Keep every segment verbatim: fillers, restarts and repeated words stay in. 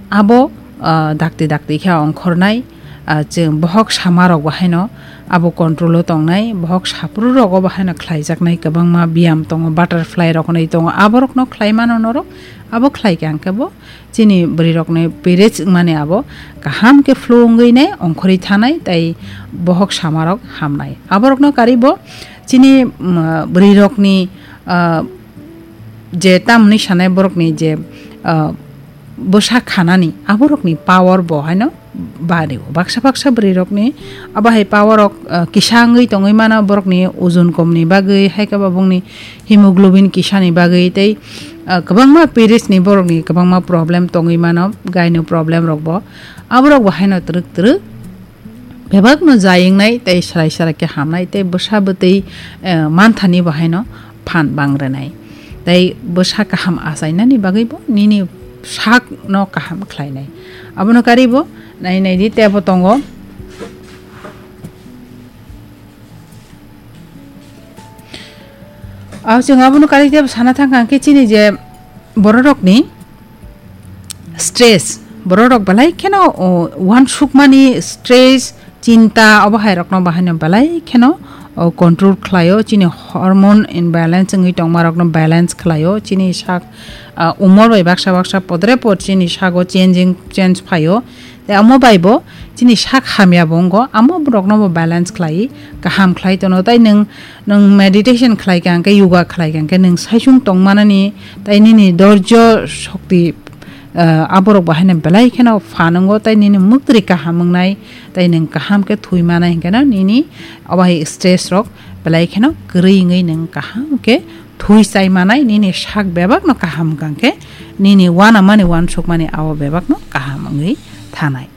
Abo, ah, dakti dakti khe ongkhornai, ah, chwng bohok samarok bo haino abo control-o tongnai, bohok saphuru rogo bo haino khlaijaknai kwbangma biyam tongo, butterfly rok hinwi tongo, aborokno khlai mano norok, abo khlai khe ang khe bo chini bwrwirokni periods wngmani abo kaham khe flow wngwi nai ongkhorwi thanai tei bohok samarok hamnai. Aborokno kari bo chini, mm, bwrwirokni, ah, je tamni sanai borokni je, ah, bwsa khanani aborokni power bo haino bario. Baksa baksa bwrwirokni abo hai power rok, ah, kisa wngwi tongwi mano, borokni ojon komni bagwi, hai khe bo bongni hemoglobin kisani bagwi tei, ah, kwbangma periods ni borokni kwbangma problem tongwi mano, gaino problem rok bo. Aborok bo haino twrwk twrwk bebakno jai wngnai tei swrai swrai khe hamnai tei bwsa bwtwi, eh, manthani bo haino phan bang rwnai. Tei bwsa kaham achainani bagwi bo nini sakno kaham khlainai. Abono kari bo nai nai di tebo tongo. Aw chwng abono kari tebo sana thang kha khe chini je bororokni stress, bororok belai kheno, o, uansukmani stress, chinta, obo hai rokno bahaino belai kheno, o, control khlaio, chini hormone imbalance wngwi tongma rokno balance khlaio, chini sak, a, umor bai baksa baksa podre pod chini sago changing, change phaio. Tei omo bai bo chini sak hamya bo wngo, amo borokno bo balance khlai, kaham khlai tono. Tai nwng, nwng meditation khlai kha hwnkhe, yoga khlai kha hwnkhe nwng saichung tongmanani, tai nini dorjo shokti, ah, aborok bo haino belai kheno phan wngo, tai nini mwktwrwi kaham wngnai, tai nwng kaham khe thwi manai hwnkhe no nini obo hai stress rok belai kheno kwrwi wngwi nwng kaham khe thwi chai manai, nini sak bebakno kaham wngkha khe nini uanamani uansukmani abo bebakno kaham wngwi thanai.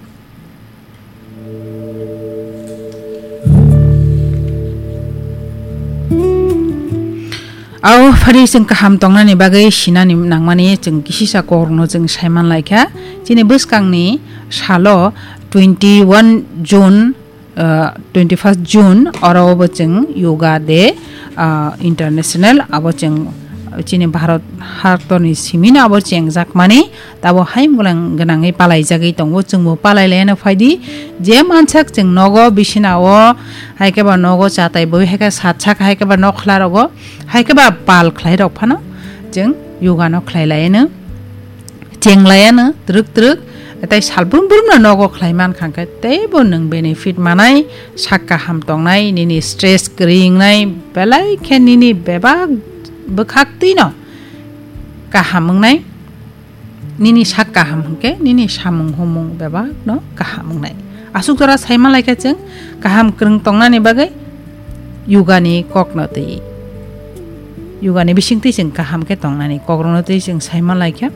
Au phari chwng kaham tongnani bagwi sinani nangmani chwng kisisa kokrokno chwng saiman laikha. Chini bwskangni salo twenty one June, ah, twenty first June oro bo chwng Yoga Day, ah, International abo chwng chini Bharat hatorni simino abo chengjakmani. Tabo hai mulang gwnangwi palaijagwi tongo, chwngbo palailaino phaidi. Je mansak chwng nogo, bisinao, hai khe ba nogo chatai bui, hai khe satsak, hai khe ba nokhla rogo, hai khe ba pal khlai rok phano chwng yoga no khlai laiano, cheng laiano twrwk twrwk, tai salbrum brum no nogo khlai man kha khe teibo nwng benefit manai, sak kaham tongnai, nini stress kwrwi wngnai, belai khe nini bebak bwkhak twi no kaham wngnai. Nini sak kaham hwnkhe nini samung humung bebakno kaham wngnai. Aswk jora saima laikha chwng kaham kwrwng tongnani bagwi yogani kokno twi, yogani bisingtwi chwng kaham khe tongnani kokrokno twi chwng saima laikha.